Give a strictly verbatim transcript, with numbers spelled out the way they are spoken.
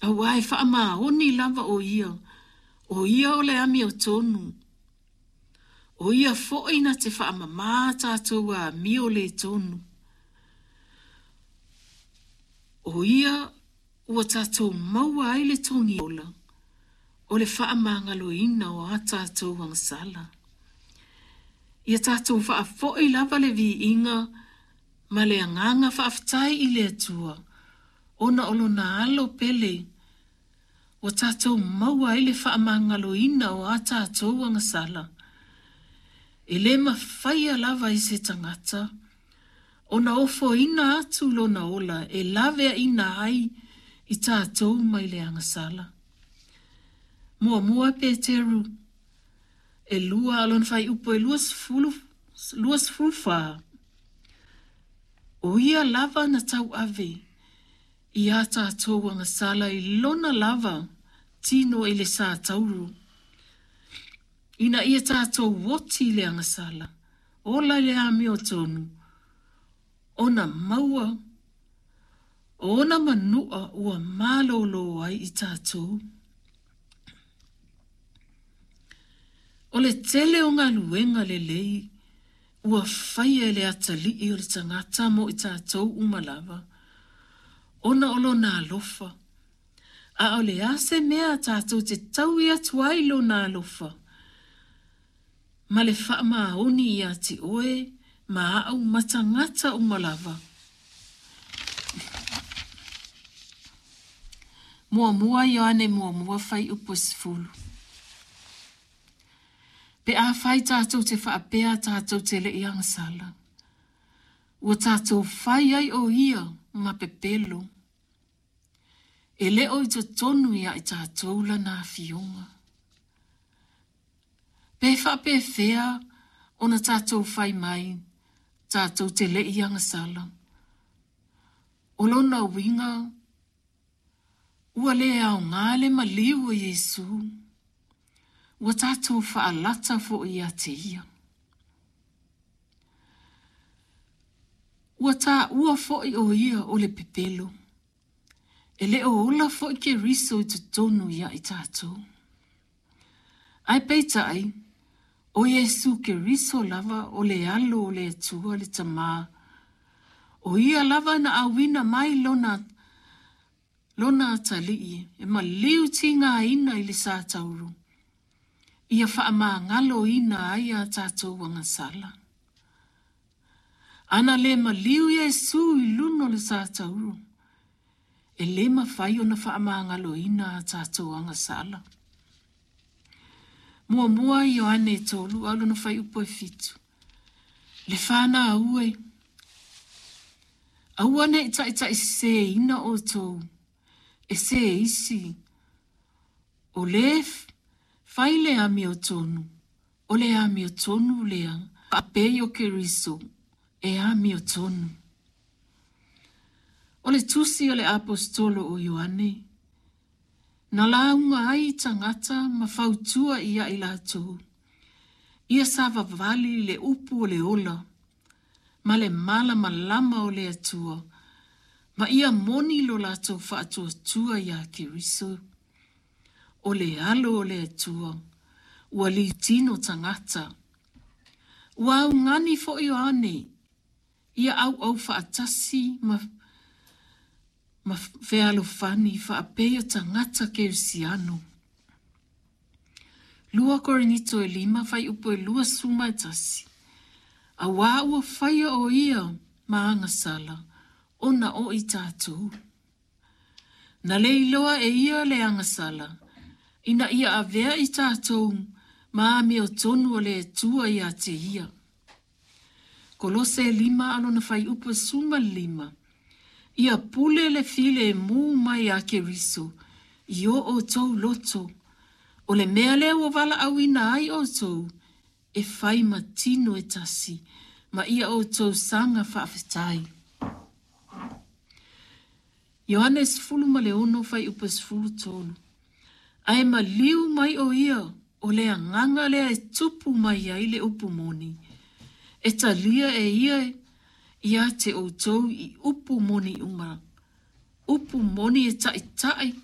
Auā e faamaoni lava ʻo Ia, ʻo Ia o le amiotonu. ʻO Ia foi na te faamamā tātou amio lē tonu. ʻO Ia ua tātou maua ai le togi ola, o le faamagaloina o a tātou agasala. Ia tātou faafoʻi lava le viiga ma le agaga faafetai i le Atua, ona o lona alo pele ua tātou maua ai le faamagaloina o a tātou agasala. E lē mafaia lava i se tagata ona ofoina atu lona ola e laveaina ai i tātou mai le agasala. Muamua Peteru ʻelua a o lona fuaiupu e luasefulu luasefulu fa. ʻO ia lava na tauave iā tātou agasala i lona lava tino i le satauro, ina ia tātou oti i le agasala, ola i le amiotonu, ona maua o ona manuʻa ua malōlō ai i tātou. O le tele o galuega lelei ua faia e le atalii o le tagata mo i tātou uma lava, ona o lona alofa. A o le a se mea tātou te taui atu ai lona alofa ma le faamaoni iā te ʻoe ma aʻu ma tagata uma lava. Muamua Ioane muamua fuaiupu e sefulu. Pe afai tātou te faapea tātou te leʻi agasala, ua tātou fai ai ʻo ia ma pepelo. E le o i totonu iā i tātou lana afioga. Pe faapefea ona tātou fai mai tātou te leʻi agasala. O lona uiga ua lē aogā le maliu o Iesū. Ua tātou faalata foʻi iā te ia. Ua taua foʻi ʻo ia o le pepelo. E le o ola foʻi Keriso i totonu iā i tātou. Ae peitai, ʻo Iesū Keriso lava o le alo o le Atua le Tamā. ʻO ia lava na ʻauina mai lona lona atalii e maliu tigāina i le satauro, ia faamagaloina ai a tātou agasala. Ana lē maliu Iesū i luna o le satauro, e lē mafai ona faamagaloina a tātou agasala. Muamua Ioane tolu a o lona fuaiupu e fitu. Le fanau e, aua neʻi taʻitaʻiseseina ʻoutou e se isi, o lē fai le amiotonu, o le amiotonu lea faapei o Keriso e amiotonu. O le tusi a le Aposetolo o Ioane, na lauga ai i tagata ma fautua iā i latou, ia savavali i le upu o le ola ma le malamalama o le Atua, ma ia moni lo latou faatuatua iā Keriso, o le Alo o le Atua, ua litino tagata. Ua augani foʻi Ioane ia ʻauʻau faatasi ma ma fealofani faapei o tagata Kerisiano. Lua Korinito e lima fuaiupu e luasefulu ma e tasi. Auā ua faia ʻo ia ma agasala ona o i tātou. Na le iloa e ia le agasala, ina ia avea i tātou ma amiotonu o le Atua iā te ia. Kolose e lima a o lona fuaiupu e sefulu ma le lima. Ia pule le filemu mai a Keriso i o ʻoutou loto, o le mea lea ua valaʻauina ai ʻoutou e fai ma tino e tasi, ma ia ʻoutou saga faafetai. Ioane sefulu ma le ono fuaiupu e sefulu tolu. Ae maliu mai ʻo ia o le agaga lea e tupu mai ai le upu moni, e talia e ia iā te ʻoutou i upu moni uma, upu moni e taʻitaʻi